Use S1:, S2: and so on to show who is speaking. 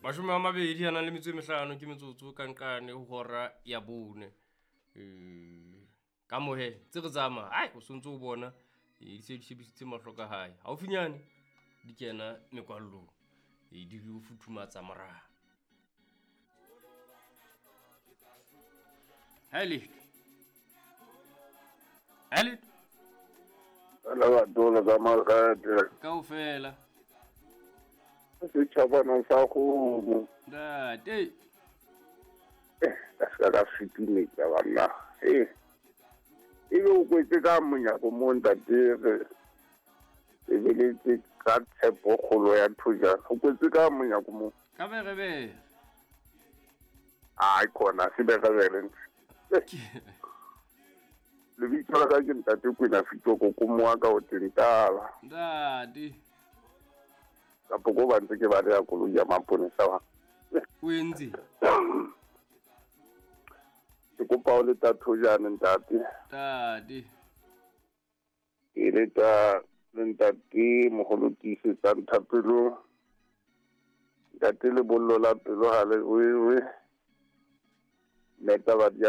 S1: 25 ke metsotso ka nqane ho hora ya 4. Ka mohe tse re tsamaya, ai o sontso o bona di se di shebisitse mahlo ka hae. Haufinyane di kena mekwallong, di lo futhumatsa moraha. Ha letho. Ha letho.
S2: Ala batona tsa makgate.
S1: Kaofela.
S2: Setjhabana sa kgomo.
S1: Ntate.
S2: Ka se ka fitimetsa banna. Ebe o kwetse ka monyako mo ntate re lebeletse ka tshepo kgolo ya thojana. O kwetse ka monyako mo.
S1: Ka berebere.
S2: Ai khona se berebere. Lebitso la ka ke ntate Kwena Fitoko ko moa ka o tentala.
S1: Ntate.
S2: Kapo ko ba ntse ke ba le koloi ya maponesa wa.
S1: O entse.
S2: Ke kopa o leta thojana ntate.
S1: Ntate.
S2: Ke leta le ntate moholo tiisetsang thapelo. Ntate lebollo la pelo ha le wewe. Neta ba di